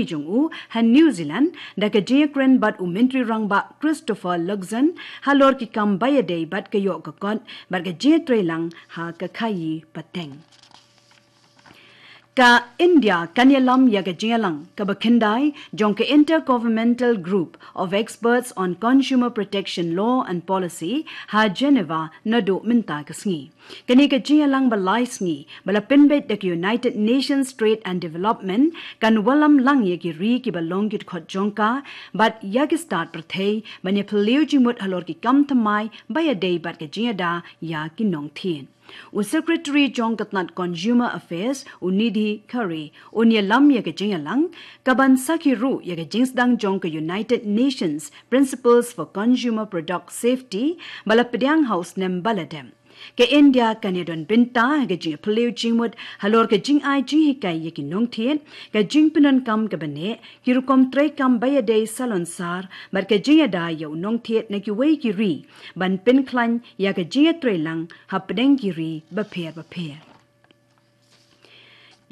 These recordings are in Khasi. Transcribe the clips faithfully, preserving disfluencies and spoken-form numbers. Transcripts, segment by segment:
jong u ha New Zealand da ka jingïakren bad u Myntri Rangbah Christopher Luxon halor ki kam ba ïadei bad ka ïoh ka kot bad ka jingïatreilang ha ka khaïi pateng. Ka India kan ïalam ïa ka jingïalang kaba khyndai jong ka Intergovernmental Group of Experts on Consumer Protection Law and Policy ha Geneva naduh mynta ka sngi. Kane ka jingïalang ba lai sngi ba la pynbeit da ka United Nations Trade and Development kan wallam lang ïa ki ri kiba long ki dkhot jong ka bad ïa ki stad pyrthei ban ïaphylliew jingmut halor ki kam thymmai ba ïadei bad ka jingïada ïa ki nongthied. U Secretary jong ka tnat Consumer Affairs, u Nidhi Khare, un ïalam ïa ka jingïalang, kaban sakhi ruh ïa ka jingsdang jong ka United Nations Principles for Consumer Product Safety ba la pdiang ha u snem ba la dep. Ka India kan ïadon bynta ha ka jingphylliew jingmut halor ka jingai jinghikai ïa ki nongthied, ka jingpyndonkam kaba neh, ki rukom treikam ba ïadei salonsar bad ka jingïada ïa u nongthied na kiwei ki ri ban pynkhlaiñ ïa ka jingïatreilang hapdeng ki ri bapher bapher.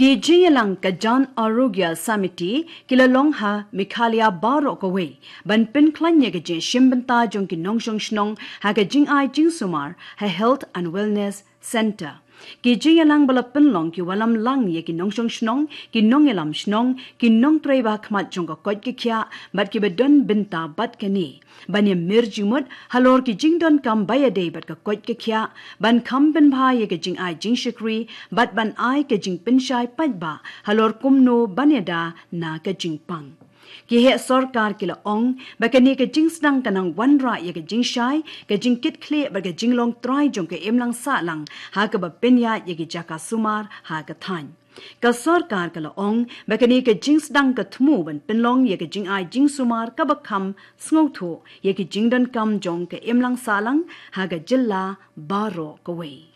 Ki jingïalang ka Jan Arogya Samiti ki la long ha Meghalaya baroh kawei ban pynkhlaiñ ïa ka jingshim bynta jong ki nongshong shnong ha ka jingai jingsumar ha Health and Wellness Centre. Ki jingïalang ba la pynlong ki wallam lang ïa ki nongshong shnong, ki nongïalam shnong, ki nongtrei ba khmat jong ka koit ka khiah bad kiba don bynta bad kane ban ïamir jingmut halor ki jingdonkam ba ïadei bad ka koit ka khiah, ban kham pynbha ïa ka jingai jingshakri bad ban ai ka jingpynshai paidbah halor kumno ban ïada na ka jingpang. Ki heh sorkar ki la ong ba kane ka jingsdang ka nang wanrah ïa ka jingshai, ka jingkitkhlieh bad ka jinglong trai jong ka imlang sahlang ha kaba pynïaid ïa ki jaka sumar ha ka thaiñ. Ka sorkar ka la ong ba kane ka jingsdang ka thmu ban pynlong ïa ka jingai jingsumar kaba kham sngewthuh ïa ki jingdonkam jong ka imlang sahlang ha ka jylla baroh kawei.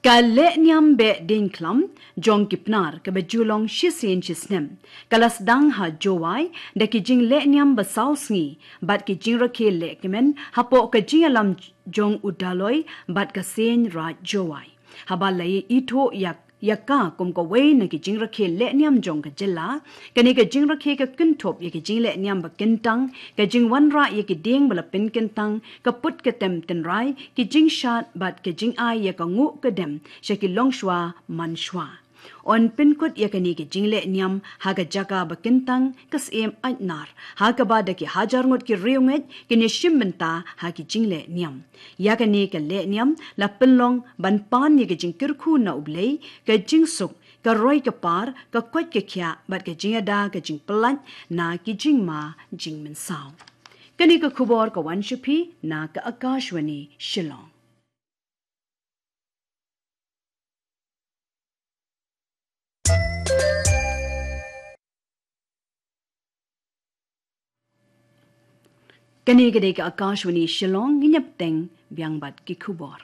Ka lehniam beh diengkhlam jong ki Pnar kaba ju long shisien shisnem ka la sdang ha Jowai da ki jinglehniam ba saw sngi bad ki jingrakhe lehkmen hapoh ka jingïalam jong u Daloi bad ka Seiñ Raij Jowai. Haba la ïathuh ïa, ïa ka kum kawei na ki jingrakhe lehniam jong ka jylla, kane ka jingrakhe ka kynthup ïa ki jinglehniam ba kyntang, ka jingwanrah ïa ki dieng ba la pynkyntang, ka put ka tem tynrai, ki jingshad bad ka jingai ïa ka nguh ka dem sha ki longshuwa manshwa. Yn pynkut ïa kane ka jinglehniam ha ka jaka ba kyntang, ka Syiem Aitnar, ha kaba da ki hajar ngut ki riewngeit kin ïashim bynta ha ki jinglehniam. Ïa kane ka lehniam la pynlong ban pan ïa ka jingkyrkhu na U Blei, ka jingsuk, ka roi ka par, ka koit ka khiah bad ka jingïada ka jingpyllait na ki jingma jingmynsaw. Kane ka khubor ka wan sha phi na ka Akashvani Shillong. Kane ka dei ka Akashvani Shillong, ngin ïa bteng biang bad ki khubor.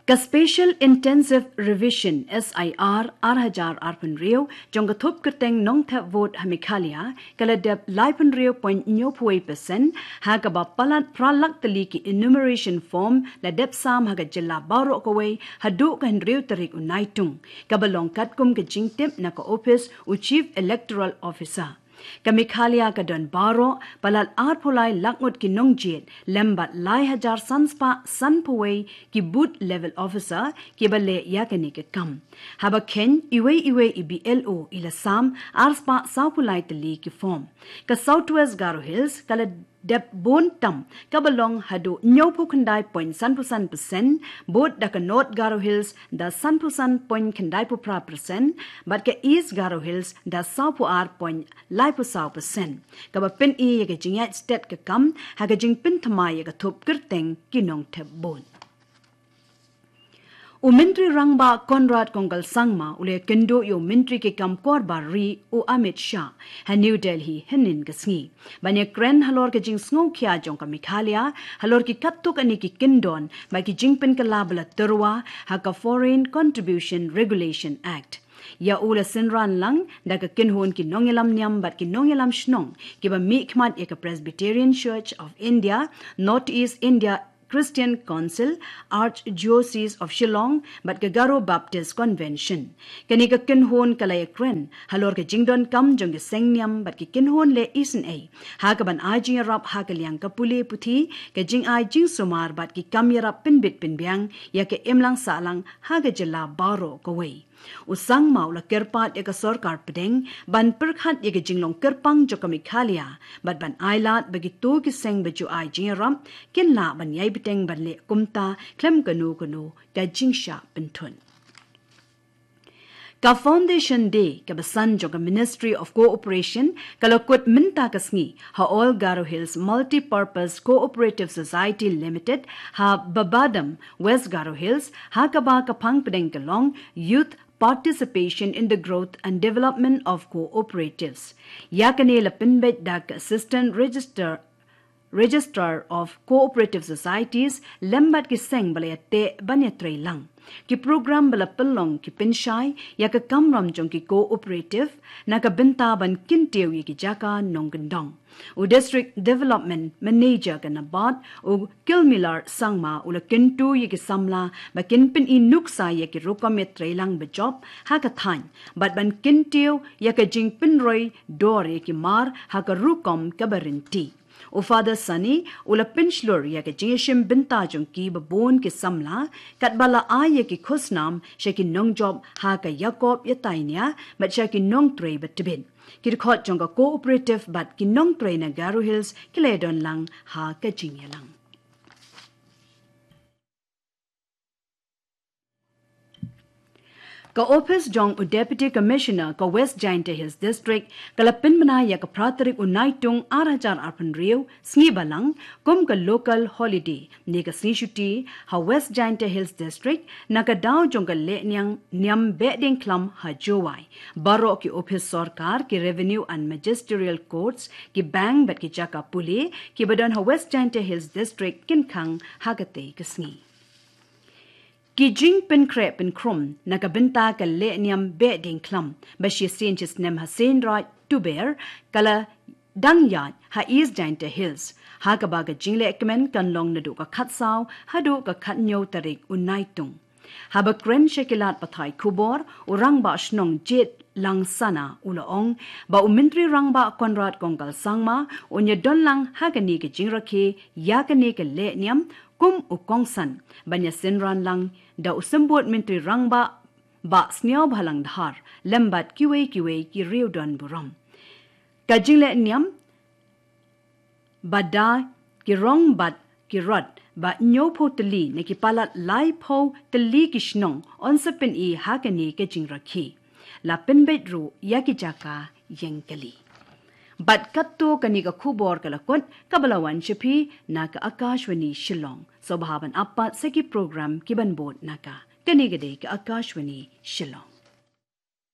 Ka Special Intensive Revision, S I R, ar hajar arphew hynriew, jong ka thup kyrteng nongthep vote ha Meghalaya, ka la dep laiphew hynriew point hynñiewphew wei percent, ha kaba palat phra lak tylli ki enumeration form la dep sam ha ka jylla baroh kawei, haduh ka hynriew tarik u Naitung, kaba long katkum ka jingtip na ka ophis u Chief Electoral Officer. Ka Meghalaya ka don baroh palat arphew lai lak ngut ki nongjied, lem bad lai hajar san spah sanphew wei ki booth level officer kiba leh ïa kane ka kam. Haba kheiñ iwei iwei i B L O i la sam ar spah sawphew lai tylli ki form. Ka South West Garo Hills ka la dep bun tam kaba long haduh hynñiewphew khyndai point sanphew san percent, bud da ka North Garo Hills da sanphew san point khyndaiphew phra percent, bad ka East Garo Hills da sawphew ar point laiphew saw percent. Kaba pyni ïa ka jingïaid stet ka kam ha ka jingpynthymmai ïa ka thup kyrteng ki nongthep vote. U Myntri Rangbah Conrad Kongkal Sangma u la ïakynduh ïa u Myntri ki kam kor bar ri u Amit Shah ha New Delhi hynnin ka sngi ban ïakren halor ka jingsngewkhia jong ka Meghalaya halor ki katto katne ki kyndon bad ki jingpynkylla ba la tyrwa ha ka Foreign Contribution Regulation Act. Ïa u la synran lang da ka kynhun ki nongïalam niam bad ki nongïalam shnong kiba mihkhmat ïa ka Presbyterian Church of India, North East India Christian Council, Archdiocese of Shillong, bad ka Garo Baptist Convention. Kane ka kynhun ka la ïakren halor ka jingdonkam jong ka seng niam bad ki kynhun leh isynei ha kaban ai jingïarap ha ka liang ka pule puthi, ka jingai jingsumar bad ki kam ïarap pynbit pynbiang ïa ka imlang sahlang ha ka jylla baroh kawei. U Sangma u la kyrpad ïa ka sorkar pdeng ban pyrkhat ïa ka jinglong kyrpang jong ka Meghalaya bad ban ailad ba kito ki seng ba ju ai jingïarap kin lah ban ïai bteng ban leh kumta khlem kano kano ka jingshah pynthut. Ka Foundation Day kaba san jong ka Ministry of Cooperation ka la kut mynta ka sngi ha All Garo Hills Multipurpose Cooperative Society Limited ha Babadam, West Garo Hills, ha kaba ka phang pdeng ka long Youth Participation in the Growth and Development of Cooperatives. Ïa kane la pynbeit da ka Assistant Register Registrar of Cooperative Societies lem bad ki seng ba la ïateh ban ïatreilang. Ki program ba la pynlong ki pynshai ïa ka kamram jong ki cooperative na ka bynta ban kyntiew ïa ki jaka nongkyndong. U District Development Manager ka NABARD, u Kilmilar Sangma, u la kyntu ïa ki samla ba kin pyni nuksa ïa ki rukom ïatreilang bajop ha ka thaiñ bad ban kyntiew ïa ka jingpynroi dor ïa ki mar ha ka rukom kaba rynti. U Father Sunny u la pynshlur ïa ka jingïashim bynta jong ki babun ki samla katba la ai ïa ki khusnam sha ki nongjop ha ka ïakop ïatainia bad sha ki nongtrei ba tbit. Ki dkhot jong ka cooperative bad ki nongtrei na Garo Hills ki la ïadon lang ha ka jingïalang. Ka ophis jong u Deputy Commissioner ka West Jaintia Hills District ka la pynbna ïa ka phra tarik u Naitung ar hajar arphew hynriew, sngi Balang, kum ka local holiday, ne ka sngi shuti ha West Jaintia Hills District, na ka daw jong ka lehniam niam Behdeiñkhlam ha Jowai. Baroh ki ophis sorkar, ki revenue and magisterial courts, ki bank bad ki jaka pule kiba don ha West Jaintia Hills District kin khang ha katei ka sngi. Ki jingpynkhreh pynkhrum na ka bynta ka lehniam Behdeiñkhlam ba shisien shisnem ha Seinraij Tuber ka la dang ïaid ha East Jaintia Hills, ha kaba ka jinglehkmen kan long naduh ka khatsaw haduh ka khathynñiew tarik u Naitung. Haba kren sha ki lad pathai khubor, u Rangbah Shnong Jetlang Sana u la ong ba u Myntri Rangbah Conrad Kongkal Sangma un ïadon lang ha kane ka jingrakhe ïa kane ka lehniam kum u kongsan ban ïasynran lang da u Symbud Myntri Rangbah Bah Sniawbhalang Dhar lem bad kiwei kiwei ki riewdonburom. Ka jinglehniam ba da ki rong bad ki rot ba hynñiewphew tylli na ki palat laiphew tylli ki shnong yn sa pyni ha kane ka jingrakhe. La pynbeit ruh ïa ki jaka ïeng kali. Bad katto kane ka khubor ka la kut kaba la wan sha phi na ka Akashvani Shillong. Sngewbha ban ap pat sa ki program kiban bud na ka. Kane ka dei ka Akashvani Shillong.